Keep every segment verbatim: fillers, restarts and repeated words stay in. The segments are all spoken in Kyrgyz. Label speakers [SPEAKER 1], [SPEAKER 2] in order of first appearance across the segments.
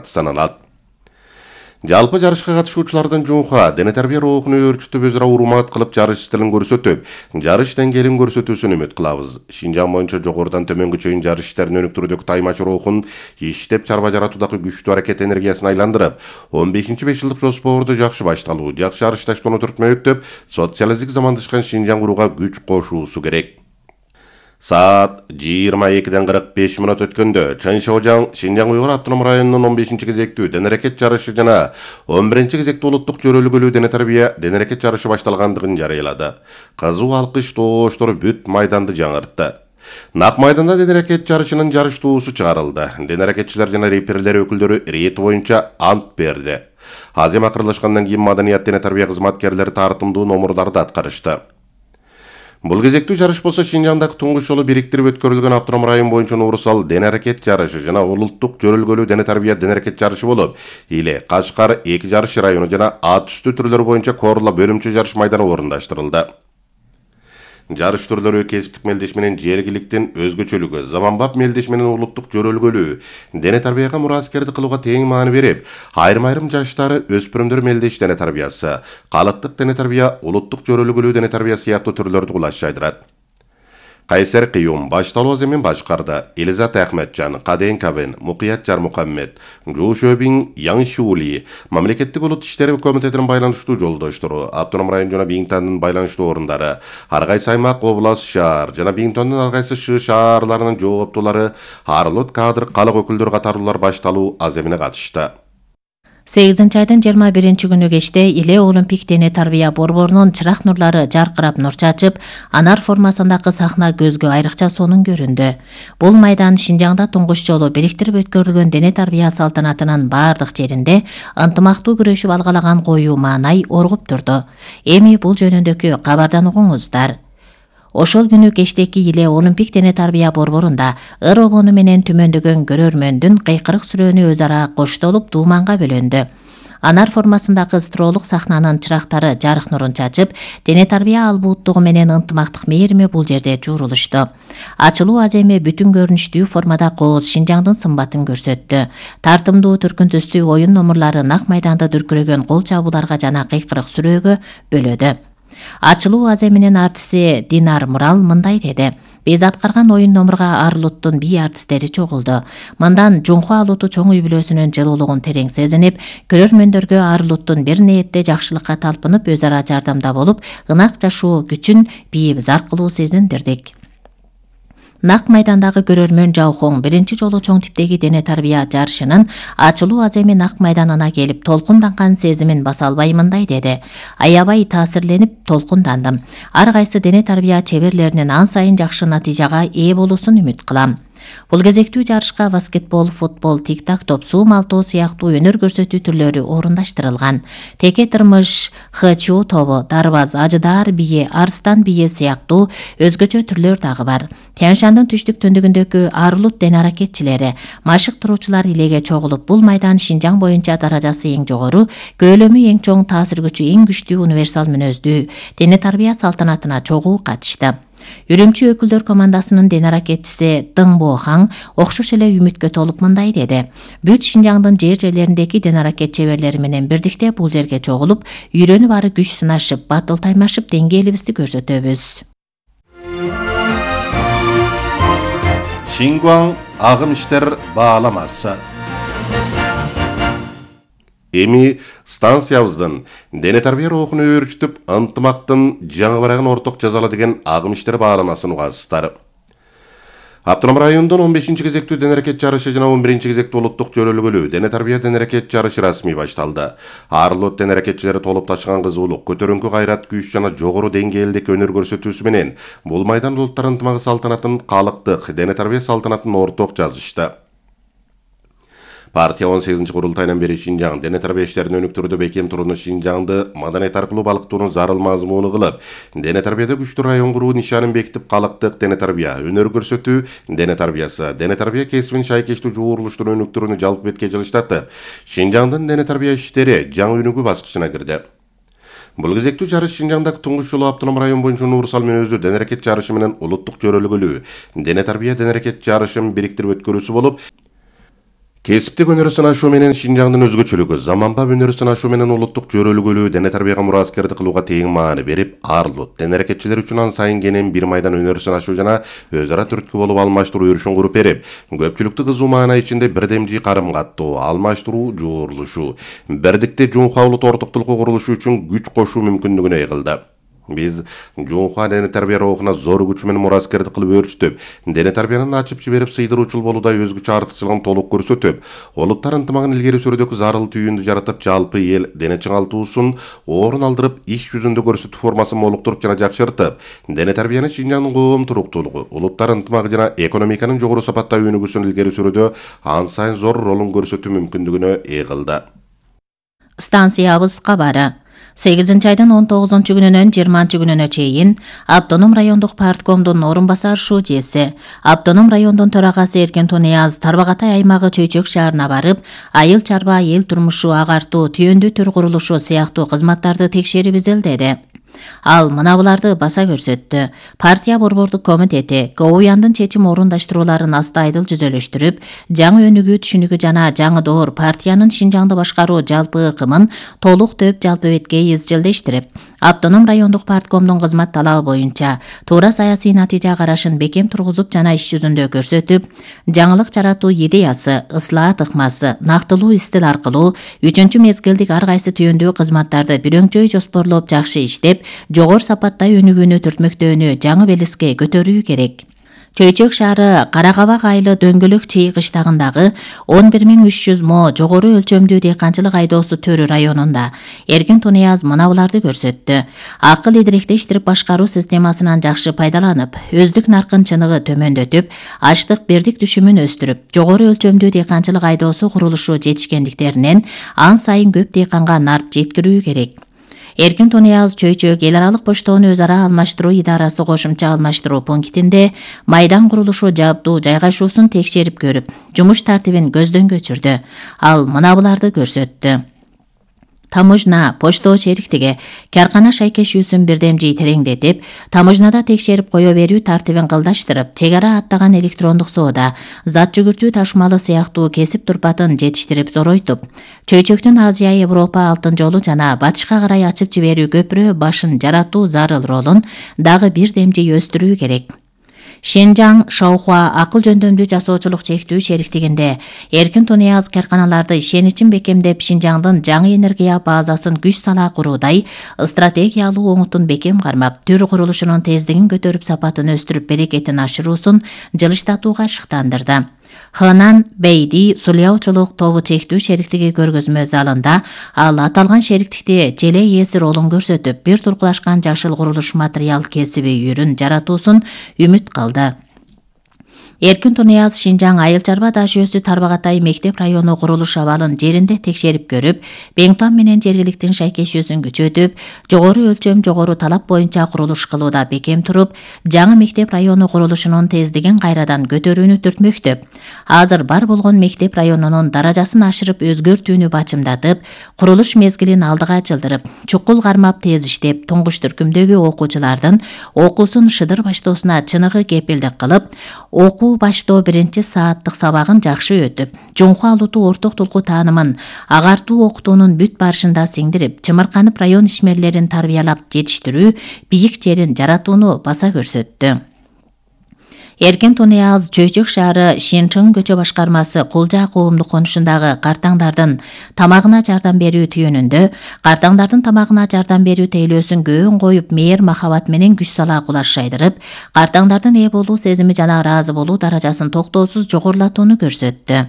[SPEAKER 1] саналат. Жалпы жарышка катышуучулардын жуунга дене тарбия рухуну өөрчүтүп өзара урмат кылып жарыш стилин көрсөтүп, жарыш деңгээлин көрсөтүүсүн үмүт кылабыз. Шинжаң боюнча жогорудан төмөнгө чейин жарыш иштерин өнүктүрүүдөгү таймач рухун иштеп чарба жаратуудагы күчтүү аракет энергиясын айландырып, он бешинчи беш жылдык жоспорду жакшы башталуу, жакшы жарышташтоону түртмөктөп, социалисттик замандашкан Шинжаң курууга күч кошуусу керек. Саат жыйырма экиден кырк беш мүнөт өткөндө Чаншоожаң Шинжаң Уйгур автоном районунун он бешинчи кезектүү дене аракет жарышы жана он биринчи кезектүү улуттук жөрөлгөлүү дене тарбия дене аракет жарышы башталгандыгын жарыялады. Кызуу алкыш тооштор бүт майданды жаңыртты. Нак майданда дене аракет жарышынын жарыш туусу чыгарылды. Дене аракетчилер жана реперлер өкүлдөрү рейт боюнча ант берди. Азем акырлашкандан кийин маданият дене тарбия кызматкерлери тартымдуу номурларды аткарышты. Бул кезектүү жарыш болсо Шинжаңдагы туңгуч жолу бириктирип өткөрүлгөн автоном район боюнча Нурсал дене аракет жарышы жана улуттук жөрөлгөлүү дене тарбия дене аракет жарышы болуп, Иле, Кашкар эки жарыш району жана ат үстү түрлөр боюнча Корла бөлүмчө жарыш майданы орундаштырылды. Жарыш түрлөрү кесиптик мелдеш менен жергиликтин өзгөчөлүгү, заманбап мелдеш менен улуттук жөрөлгөлүү, дене тарбияга мураскерди кылууга тең маани берип, айрым-айрым жаштары өспүрүмдөр мелдеш дене тарбиясы, калыктык дене тарбия, улуттук жөрөлгөлүү дене тарбия сыяктуу түрлөрдү кулаш жайдырат. Кайсер Кыюм башталуу аземин башкарды. Элизат Ахметжан, Каден Кабен, Мукият Жармукаммед, Жушөбин Яншули, Мамлекеттик улут иштери комитетинин байланыштуу жолдоштору, автоном район жана Биңтандын байланыштуу орундары, ар кайсы аймак, област, шаар жана Биңтондун ар кайсы шы шаарларынын жооптулары, арлык кадр, калык өкүлдөрү катарлуулар башталуу аземине катышты.
[SPEAKER 2] сегизинчи айдын жыйырма биринчи күнү кечте Иле Олимпик дене тарбия борборунун чырак нурлары жаркырап нур чачып, анар формасындагы сахна көзгө айрыкча сонун көрүндү. Бул майдан Шинжаңда туңгуч жолу бириктирип өткөрүлгөн дене тарбия салтанатынын бардык жеринде ынтымактуу күрөшүп алгалаган коюу маанай оргуп турду. Эми бул жөнүндөгү кабардан угуңуздар. Ошол күнү кечтеки Иле Олимпик дене тарбия борборунда ыр обону менен түмөндөгөн көрөрмөндүн кыйкырык сүрөөнү өз ара коштолуп дууманга бөлөндү. Анар формасындагы стролук сахнанын чырактары жарык нурун чачып, дене тарбия албууттугу менен ынтымактык мээрими бул жерде жуурулушту. Ачылуу аземи бүтүн көрүнүштүү формада кооз Шинжаңдын сымбатын көрсөттү. Тартымдуу түркүн түстүү оюн номурлары нак майданда дүркүрөгөн кол чабууларга жана кыйкырык сүрөөгө бөлөдү. Ачылуу аземинин артисти Динар Мурал мындай деди: Биз аткарган оюн номурга Арлуттун бий артисттери чогулду. Мындан жуңку алууту чоң үй бүлөсүнүн жылуулугун терең сезинип, көрөрмөндөргө Арлуттун бир ниетте жакшылыкка талпынып, өз ара жардамда болуп, ынак жашоо күчүн бийип зар кылуу сезиндирдик. Нак майдандагы көрөрмөн Жаухоң биринчи жолу чоң типтеги дене тарбия жарышынын ачылуу аземи нак майданына келип толкунданган сезимин баса албай мындай деди: Аябай таасирленип толкундандым. Ар кайсы дене тарбия чеберлеринин ан сайын жакшы натыйжага ээ болуусун үмүт кылам. Бул кезектүү жарышка баскетбол, футбол, тик-так топ, суу малтоо сыяктуу өнөр көрсөтүү түрлөрү орундаштырылган. Теке тырмыш, хчу тобу, дарбаз, ажыдаар бийи, арстан бийи сыяктуу өзгөчө түрлөр дагы бар. Тянь-Шандын түштүк төндүгүндөгү Арлут дене аракетчилери, машык туруучулар Илеге чогулуп, бул майдан Шинжаң боюнча даражасы эң жогору, көөлөмү эң чоң, таасир күчү эң күчтүү универсал мүнөздүү дене тарбия салтанатына чогуу катышты. Үрүмчү өкүлдөр командасынын дене аракетчиси Дың Бохан окшош эле үмүткө толуп мындай деди: Бүт Шинжаңдын жер жерлериндеги дене аракет чеберлери менен бирдикте бул жерге чогулуп, үйрөнүп ары күч сынашып, батыл таймашып деңгээлибизди көрсөтөбүз.
[SPEAKER 1] Шингуаң агым иштер бааламасы. Эми станциябыздын дене тарбия рухуну өөрчүтүп, ынтымактын жаңы барагын орток жазалы деген агым иштер бааламасын угасыздар. Автоном райондун он бешинчи кезектүү дене аракет жарышы жана он биринчи кезектүү улуттук жөрөлгөлүү дене тарбия дене аракет жарышы расмий башталды. Арлот дене аракетчилери толуп ташыган кызуулук, көтөрүңкү кайрат, күч жана жогору деңгээлдеги өнөр көрсөтүүсү менен бул майдан улуттар ынтымагы салтанатын, калыктык дене тарбия салтанатын орток жазышты. Партия он сегизинчи курултайынан бери Шинжаң дене тарбия иштерин өнүктүрүүдө бекем турууну, Шинжаңды маданият аркылуу балыктоону зарыл мазмуну кылып, дене тарбияда күчтүү район куруу нишанын бекитип, калыктык дене тарбия, өнөр көрсөтүү дене тарбиясы, дене тарбия кесибин шайкештүү жуурулуштун өнүктүрүүнү жалпы бетке жылыштатып, Шинжаңдын дене тарбия иштери жаңы өнүгүү баскычына кирди. Бул кезектүү жарыш Шинжаңдагы туңгуч жолу автоном район боюнча Нурсал мүнөздүү дене аракет жарышы менен улуттук жөрөлгөлүү дене тарбия дене аракет жарышын бириктирип өткөрүүсү болуп, Кесиптик өнөрү ашуу менен Шинжаңдын өзгөчөлүгү, заманбап өнөрү ашуу менен улуттук жөрөлгөлүү дене тарбияга мураскерди кылууга тең маани берип, арылут. Дене аракетчилер үчүн ан сайын кенен бир майдан өнөрү ашуу жана өз ара түрткү болуп алмаштыруу өрүшүн куруп берип, көпчүлүктү кызуу маана ичинде бирдемжи карым каттоо, алмаштыруу, жуурулушуу, бирдикте жуунха улут ортоктулукку курулушу үчүн күч кошуу мүмкүндүгүнө ыйгылды. Биз жуунха дене тарбия рухуна зор күч менен мураскерди кылып өөрчүтүп, дене тарбиянын ачып жиберип сыйдыруучул болууда өзгөчө артыкчылыгын толук көрсөтүп, улуттар ынтымагын илгери сүрүүдөгү зарыл түйүндү жаратып, жалпы эл дене чыңалтуусун орун алдырып, иш жүзүндө көрсөтүү формасын молуктуруп жана жакшыртып, дене тарбияны Шинжаңдын коом туруктуулугу, улуттар ынтымагы жана экономиканын жогору сапатта өнүгүүсүн илгери сүрүүдө ан сайын зор ролун көрсөтүү мүмкүндүгүнө ыйгылды.
[SPEAKER 2] Станциябыз кабары. сегизинчи айдын он тогузунчу күнүнөн жыйырманчы күнүнө чейин Автоном райондук парткомдун орун басар шуудеси, Автоном райондун төрагасы Эркин Тунияз Тарбагатай аймагы Чөйчөк шаарына барып, айыл чарба, эл турмушу, агартуу, түйөндүү төр курулушу сыяктуу кызматтарды текшерип изилдеди. Ал мына буларды баса көрсөттү. Партия борбордук комитети КОУЯндын чечим орундаштырууларын астайдыл жүзөлөштүрүп, жаңы өнүгүү түшүнүгү жана жаңы доор партиянын Шинжаңды башкаруу жалпы ыкымын толук төп жалпы бетке изчилдештирип, Автоном райондук парткомдун кызмат талабы боюнча туура саясий натыйжа карашын бекем тургузуп жана иш жүзүндө көрсөтүп, жаңылык жаратуу идеясы, ыслаат ыкмасы, нактылуу истил аркылуу үчүнчү мезгилдик ар кайсы түйөндүү кызматтарды бирөңчөй жоспорлоп жакшы иштеп, жогору сапатта өнүгүүнү түртмөктөөнү жаңы белеске көтөрүү керек. Чөйчөк шаары Каракабак айылы Дөңгөлөк чый кыштагындагы он бир миң үч жүз мо жогору өлчөмдүү дыйканчылык айдоосу төрү районунда Эркин Тунияз мына буларды көрсөттү. Акыл идиректештирип башкаруу системасынан жакшы пайдаланып, өздүк наркын чыныгы төмөндөтүп, аштык бердик түшүмүн өстүрүп, жогору өлчөмдүү дыйканчылык айдоосу курулушу жетишкендиктеринен ан сайын көп дыйканга нарп жеткирүү керек. Эркин Тунияз Чөйчөк эл аралык поштоону өз ара алмаштыруу идарасы кошумча алмаштыруу пунктинде майдан курулушу жабдуу жайгашуусун текшерип көрүп, жумуш тартибин көздөн кечирди. Ал мына буларды көрсөттү. Таможна, поштоо шериктиги каркана шайкешүүсүн бирдемжи тереңдетип, таможнада текшерип кое берүү тартибин кылдаштырып, чек ара аттаган электрондук соода, зат жүгүртүү ташымалы сыяктуу кесип турпатын жетиштирип зоройтуп, Чөйчөктүн Азия, Европа алтын жолу жана батышка карай ачып жиберүү көпүрө башын жаратуу зарыл ролун дагы бирдемжи өстүрүү керек. Шинжаң Шаухуа акыл жөндөмдүү жасоочулук чектүү шериктигинде Эркин Тунияз карканаларды ишеничин бекемдеп, Шинжаңдын жаңы энергия базасын күч сала куруудай стратегиялуу оңутун бекем кармап, төр курулушунун тездигин көтөрүп, сапатын өстүрүп, берекетин ашыруусун жылыштатууга шыктандырды. Хынан Бейди сулуяучулук тобу чектүү шериктиги көргөзмө залында ал аталган шериктикти желе ээси ролун көрсөтүп, бир туркулашкан жашыл курулуш материал кесиби үйрүн жаратуусун үмүт кылды. Эркин Тунияз Шинжаң айыл чарба даш жүйөсү Тарбагатай мектеп району курулуш абалын жеринде текшерип көрүп, Беңтон менен жергиликтин шайкешүүсүн күчөтүп, жогору өлчөм, жогору талап боюнча курулуш кылууда бекем туруп, жаңы мектеп району курулушунун тездигин кайрадан көтөрүүнү түртмөктөп, азыр бар болгон мектеп районунун даражасын ашырып өзгөртүүнү бачымдатып, курулуш мезгилин алдыга жылдырып, чукул кармап тез иштеп, туңгуч түркүмдөгү окуучулардын окуусун шыдыр баштоосуна чыныгы кепилдик кылып, окуу баштоо биринчи сааттык сабагын жакшы өтүп, жуңху алутуу ортоктулуку таанымын агартуу окутуунун бүт барышында сиңдирип, чымырканып район ишмерлерин тарбиялап жетиштирүү, бийик жерин жаратууну баса көрсөттү. Эркин Тунияз Чөйчөк шаары Шинчың көчө башкармасы Кулжа коомдук конушундагы картаңдардын тамагына жардам берүү түйүнүндө картаңдардын тамагына жардам берүү тейлөөсүн көөн коюп, мээр махабат менен күч сала кулаш шайдырып, картаңдардын ээ болуу сезими жана ыраазы болуу даражасын токтоосуз жогорулатууну көрсөттү.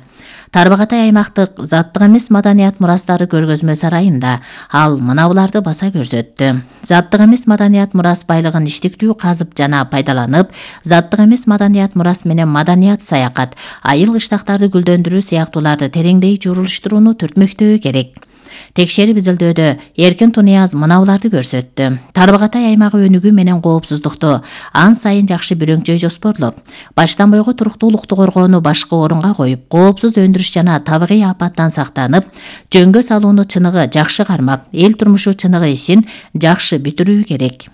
[SPEAKER 2] Тарбагатай аймактык заттык эмес маданият мурастары көргөзмө сарайында ал мына буларды баса көрсөттү. Заттык эмес маданият мурас байлыгын иштиктүү казып жана пайдаланып, заттык эмес маданият мурас менен маданият саякат, айыл кыштактарды гүлдөндүрүү сыяктууларды тереңдей журулуштурууну түртмөктөө керек. Текшерип изилдөөдө Эркин Тунияз мына буларды көрсөттү. Тарбагатай аймагы өнүгүү менен коопсуздукту ан сайын жакшы бирөңчөй жоспорлоп, баштан бойго туруктуулукту коргоону башкы орунга коюп, коопсуз өндүрүш жана табигый апаттан сактанып, жөнгө салууну чыныгы жакшы кармап, эл турмушу чыныгы ишин жакшы бүтүрүү керек.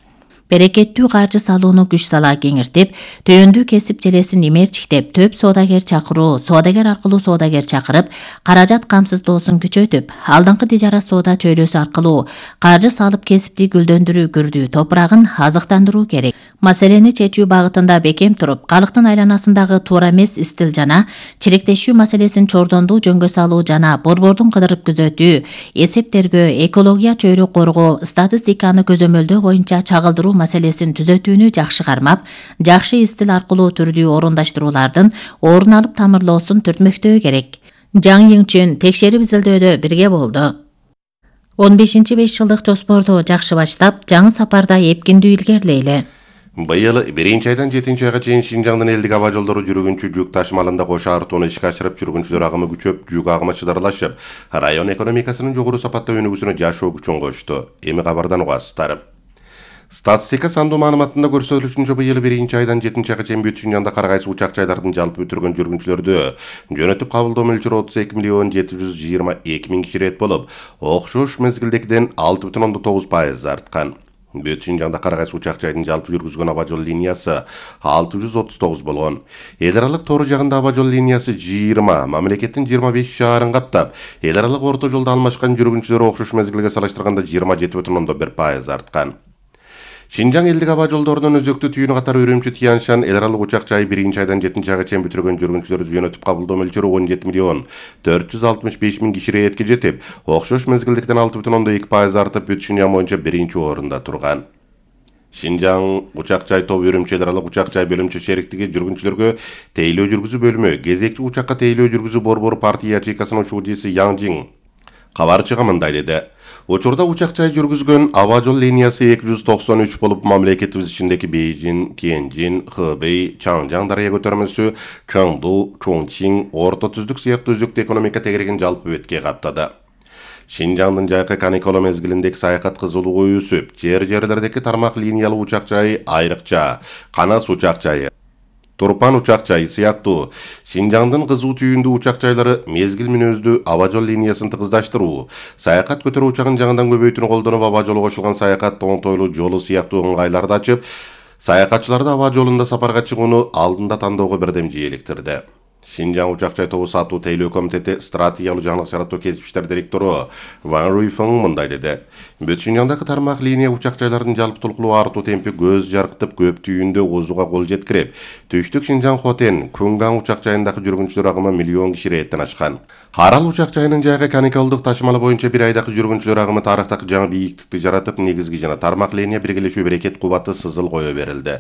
[SPEAKER 2] берекеттүү каржы салууну күч сала кеңиртип, төйөндүү кесип желесин имерчиктеп, төп соодагер чакыруу, соодагер аркылуу соодагер чакырып, каражат камсыздоосун күчөтүп, алдыңкы тижара соода чөйрөсү аркылуу каржы салып кесипти гүлдөндүрүү күрдүү топурагын азыктандыруу керек. Маселени чечүү багытында бекем туруп, калктын айланасындагы туура эмес истил жана чиректешүү маселесин чордондуу жөнгө салуу жана борбордун кыдырып күзөтүү, эсептергөө, экология чөйрө коргоо, статистиканы көзөмөлдөө боюнча чагылдыруу маселесин түзөтүүнү жакшы кармап, жакшы истил аркылуу түрдүү орундаштыруулардын орун алып тамырлоосун түртмөктөө керек. Жаң Йиңчүн текшерип изилдөөдө бирге болду. он бешинчи беш жылдык жоспорду жакшы баштап, жаңы сапарда эпкиндүү илгерилейли.
[SPEAKER 1] Быйыл биринчи айдан жетинчи айга чейин Шинжаңдын элдик аба жолдору жүргүнчү жүк ташымалында кош артууну ишке ашырып, жүргүнчүлөр агымы күчөп, жүк агымы чыдарлашып, район экономикасынын жогору сапаттуу өнүгүүсүнө жашоо күчүн кошту. Эми кабардан угасыздар. Статистика сандуу маалыматында көрсөтүлүшүнчө быйыл биринчи айдан жетинчи айга чейин бүт Шинжаңда кар кайсы учак жайлардын жалпы бүтүргөн жүргүнчүлөрдү жөнөтүп кабылдоо мөлчөрү отуз эки миллион жети жүз жыйырма эки миң киши рет болуп, окшош мезгилдегиден алты бүтүн ондон тогуз пайыз арткан. Бүт Шинжаңда кар кайсы учак жайдын жалпы жүргүзгөн аба жол линиясы алты жүз отуз тогуз болгон. Эл аралык тоор жагында аба жол линиясы жыйырма, мамлекеттин жыйырма беш шаарын каптап, эл аралык орто жолдо алмашкан жүргүнчүлөр окшош мезгилге салыштырганда жыйырма жети бүтүн ондон бир пайыз арткан. Шинжаң элдик аба жолдорунун өзөктүү түйүнү катары Үрүмчү Тянь-Шань эл аралык учак жайы биринчи айдан жетинчи айга чейин бүтүргөн жүргүнчүлөрдү жөнөтүп кабылдоо мөлчөрү он жети миллион төрт жүз алтымыш беш миң киши ретке жетип, окшош мезгилдиктен алты бүтүн ондон эки пайыз артып, бүт Шинжаң боюнча биринчи орунда турган. Шинжаң учак жай тобу Үрүмчү эл аралык учак жай бөлүмчө шериктиги жүргүнчүлөргө тейлөө жүргүзүү бөлүмү, кезекчи учакка тейлөө жүргүзүү борбору партия ячейкасынын учуудиси Яң Жиң кабарчыга мындай деди. Учурда учак жай жүргүзгөн аба жол линиясы эки жүз токсон үч болуп, мамлекетибиз ичиндеги Бейжин, Тяньжин, Хэбэй, Чаңжаң дарыя көтөрмөсү, Чаңду, Чоңчиң, Орто Түздүк сыяктуу өзөктүү экономика тегерегин жалпы бетке каптады. Шинжаңдын жайкы каникула мезгилиндеги саякат кызуулугу өсүп, жер-жерлердеги тармак линиялуу учак жайы айрыкча Канас учак жайы, Турпан учак жайы сыяктуу Шинжаңдын кызуу түйүндүү учак жайлары мезгил мүнөздүү аба жол линиясын тыгыздаштыруу, саякат көтөрүү учагын жаңыдан көбөйтүүнү колдонуп, аба жолу кошулган саякат оңтойлуу жолу сыяктуу ыңгайларды ачып, саякатчыларды аба жолунда сапарга чыгууну алдында тандоого бирдем жийиликтирди. Шинжаң учак жай тобу сатуу тейлөө комитети стратегиялуу жаңылык жаратуу кесип иштер директору Ван Руйфeng мындай деди. Бүт Шинжаңдагы тармак линия учак жайлардын жалпы толкулуу артуу темпи көз жаркытып, көп түйүндө озууга кол жеткирип, Түштүк Шинжаң Хотен, Кунгаң учак жайындагы жүргүнчүлөр агымы миллион киши реттен ашкан. Арал учак жайынын жайкы каникалдык ташымалы боюнча бир айдагы жүргүнчүлөр агымы тарыхтагы жаңы бийиктикти жаратып, негизги жана тармак линия биргелешүү берекет кубаты сызыл кое берилди.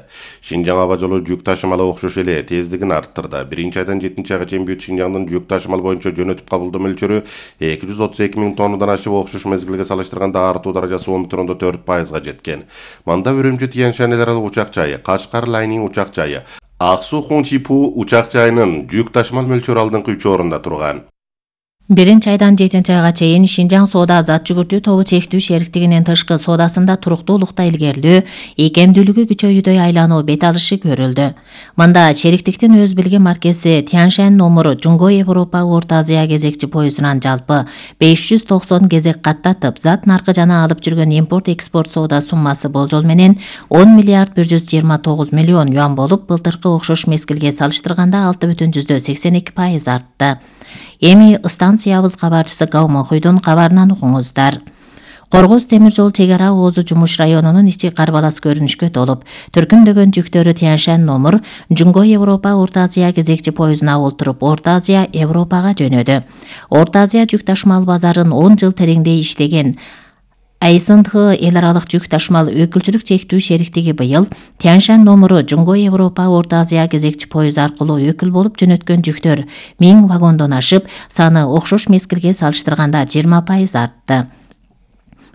[SPEAKER 1] Шинжаң аба жолу жүк ташымалы окшош эле тездигин арттырды. Биринчи айдан жетинчи айга чейин бүт Шинжаңдын жүк ташымал боюнча жөнөтүп кабылдоо мөлчөрү эки жүз отуз эки миң тоннадан ашып, окшош мезгилге салыштырганда артуу даражасы он бүтүн ондон төрт пайызга жеткен. Мында Үрүмчү Тянь-Шань эл аралык учак жайы, Кашкар Лайнин учак жайы, Ак Суу Хунчипу учак жайынын жүк ташымал мөлчөрү алдыңкы үч орунда турган.
[SPEAKER 2] Биринчи айдан жетинчи айга чейин Шинжаң соода зат жүгүртүү тобу чектүү шериктигинин тышкы соодасында туруктуулукта илгерилүү, ийкемдүүлүгү күчөйүүдөй айлануу бет алышы көрүлдү. Мында шериктиктин өз билген маркеси Тянь-Шань номуру Жуңго Европа Орто Азия кезекчи поездунан жалпы беш жүз токсон кезек каттатып, зат наркы жана алып жүргөн импорт-экспорт соода суммасы болжол менен он миллиард бир жүз жыйырма тогуз миллион юан болуп, былтыркы окшош мезгилге салыштырганда алты бүтүн жүздөн сексен эки пайыз артты. Эми станциябыз кабарчысы Гау Мохуйдун кабарынан угуңуздар. Коргоз темир жол чек ара Оозу Жумуш районунун ичи карбалас көрүнүшкө толуп, түркүндөгөн жүктөрү Тянь-Шань номур Жуңго Европа Орто Азия кезекчи поездуна олтуруп, Орто Азия Европага жөнөдү. Орто Азия жүк ташымал базарын он жыл тереңдей иштеген эй эс эн тэ эл аралык жүк ташымал өкүлчүлүк чектүү шериктиги быйыл Тянь-Шань номуру Жуңго Европа Орто Азия кезекчи поезд аркылуу өкүл болуп жөнөткөн жүктөр миң вагондон ашып, саны окшош мезгилге салыштырганда жыйырма пайыз артты.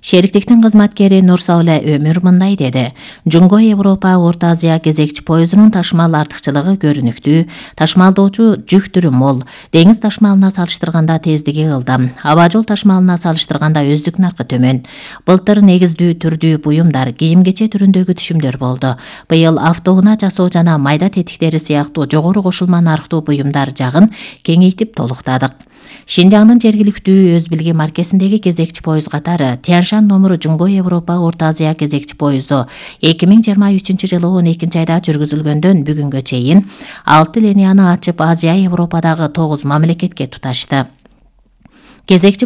[SPEAKER 2] Шериктиктин кызматкери Нурсауле Өмүр мындай деди. Жуңго Европа Орто Азия кезекчи поездунун ташымал артыкчылыгы көрүнүктүү, ташымалдоочу жүк түрү мол, деңиз ташымалына салыштырганда тездиги ылдам, аба жол ташымалына салыштырганда өздүк наркы төмөн. Былтыр негиздүү түрдүү буюмдар, кийим-кече түрүндөгү түшүмдөр болду. Быйыл автоунаа жасоо жана майда тетиктери сыяктуу жогору кошулма нарктуу буюмдар жагын кеңейтип толуктадык. Шинжаңдын жергиликтүү өз билги маркесиндеги кезекчи поезд катары Тяншан номуру Жуңго Европа Орто Азия кезекчи поезду эки миң жыйырма үчүнчү жылы он экинчи айда жүргүзүлгөндөн бүгүнгө чейин алты линияны ачып Азия Европадагы тогуз мамлекетке туташты. Кезекчи